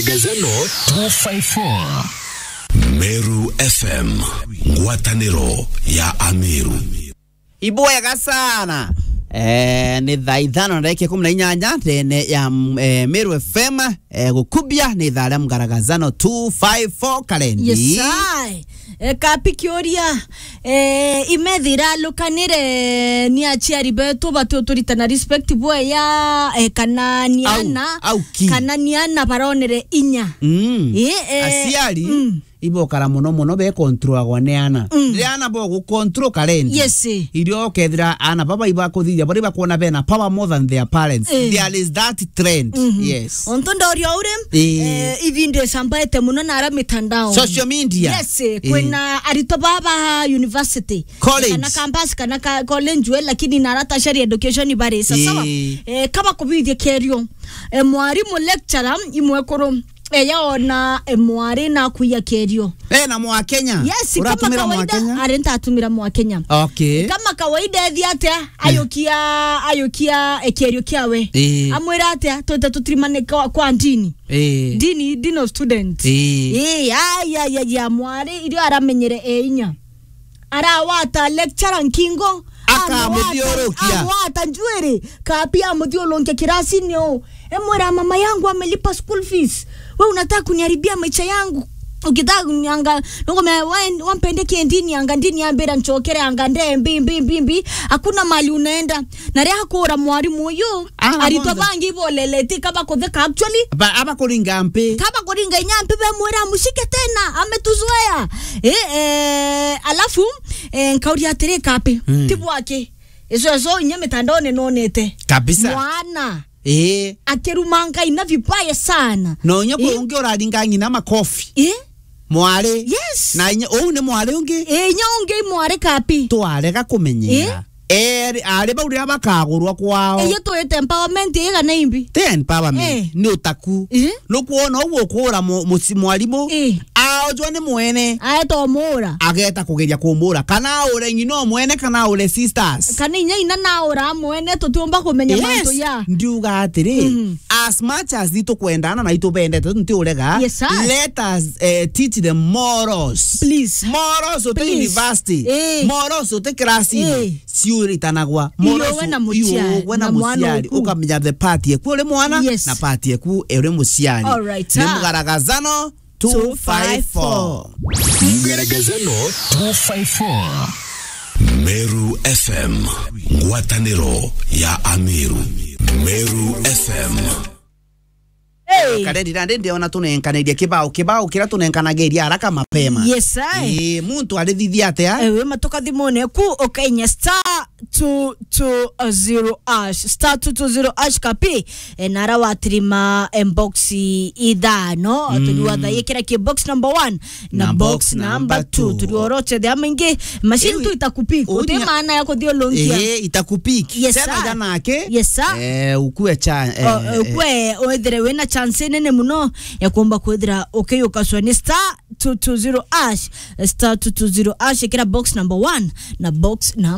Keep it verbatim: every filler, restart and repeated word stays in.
Gazano two five four. Meru F M, ngwataniro ya Ameru. Ibwega sana. Eh, ni thaa ithano na ndagika ikumi na inyanya ndene ya, mm, eh, Meru F M, eh, gukubia ni thaa ria mgaragazano two five four karendi. Yes, I. E, kapi kiuria, e, imethira lukanire ni aciari betu bati uturitana respect bweya, e, kana ni au, ana, au ki? Kana ni ana baronere inya. Mm. E, e, aciari, mm, ibokara muno muno be controlagwa ni ana. Mm. Riria ana bo gu control karendi. Yes. Irio ukethira ana baba ibakuthithia, bari bakuona bena power more than their parents. Eh. There is that trend. Mhm. Yes. Onto ndorio uri, eh, eh, ibi ndicambaete muno na ara mitandao. Social media. Yes, eh, eh, kwina arito baba university. College. Kana campus, kana ka-, college we, lakini na ara tertiary education bari. Sa-, sawa? Eh. Eh, kaba kubithia kerio. Eh, mwarimu lecturer imwekuru, eh, yaona, eh, mwari na kuya kerio. Eh, na Mwakenya. Yes, kama uratumira kawaida, Mwakenya? Ari ntatumira Mwakenya. Okay. Kama kawaida ethi atia, eh, ayukia, ayukia, eh, kerio kiawe. Eh. Amwira atia, twite tutirimane kwa, kwa ndini. Eh. Ndini, dean of students. Eh. Eh, ya, ya, ya, ya, mwari, irio aramenyere e inya. Arawata lecturer nkingo. Akamuthiurukia. Amwata, amwata njuiri. Kapi amuthiurunkia kirasini u. Emwira, "Mama yangu amelipa school fees. Wewe unataka kuniharibia maisha yangu. Ukitaka kunianga, nugome, wa-, wampende kindini, anga ndini ambira nchokere, anga nde, mbi, mbi, mbi, mbi. Hakuna mali unaenda." Na ria kura mwarimu uyu, ah, aritwa kwanza bangi iboleleti kaba kutheka actually. Ba-, aba kuringa mpi. Kaba kuringa inya mpi bemwira, "Mushike tena, ametuzoea." Eh, eh, alafu, eh, nkauria atiri, kapi, mm, ti bwaki. Icio, icio inya mitandaone nonete. Kabisa. Mwana. Eh. Akiruma Ngai na vibaya sana. No inya kwi, eh, ungi uraringa ng'ina makofi. Eh? Mwari. Yes. Na inya, uu ni mwari ungi? Eh, inya ungi mwari kapi. Twarega kumenyera. Eh? Eri, ari bau riria bakagurwa kwao. Iyo twite empowerment ii kana imbi? Ti empowerment, eh, ni utaku. Eh? Nukwona uu ukura mu-, muci-, mwarimu, eh, aojwa ni mwene. Aeta umura. Ageta kugeria kumura. Kana aure ng'ina o mwene, kana aure sisters. Kana inya ina naura mwene, tutiumba kumenya, yes, mantu ya. Ndiuga atiri, mm, as much as itukwendana na itubendete, tuntiurega, yes, sir, let us, eh, teach them morals. Please. Morals uti, please, university. Eh. Morals uti class-ini. Eh. Ciuritanagwa. Morals iwe na muciari, iwe na na mwana muciari, uku. Ukamenya the part yeku uri mwana, yes, na part yeku uri muciari. All right, sir. Ni mugaragazano two five four. Mgaragazano two five four. Meru F M, ngwataniro ya Ameru. Meru F M. Hey. Karendi, nandi ndiona tunenkanirie kibao, kibao kiria tunenkanagiria haraka mapema. Yes, I. Ii, muntu arithithia atia? Ewe matoka thimone ku ukainya star two two zero hash, star two two zero hash kapi, e, nara watirima, e, box ithano. Mm. Turiwa thaikira ki box number one na box number two. Na box number two. Turioroche thia maingi, machine tu itakupik. Uti maana ya kuthiulunkia. Eh, itakupik. Yes, sir. Sema jana ake. Yes, sir. Eh, ukue cha, eh, o, eh, ukue, wethire wina chance nene muno ya kuomba kwithira ukiyukacwa ni star two two zero hash, star two two zero hash, ikira box number one na box number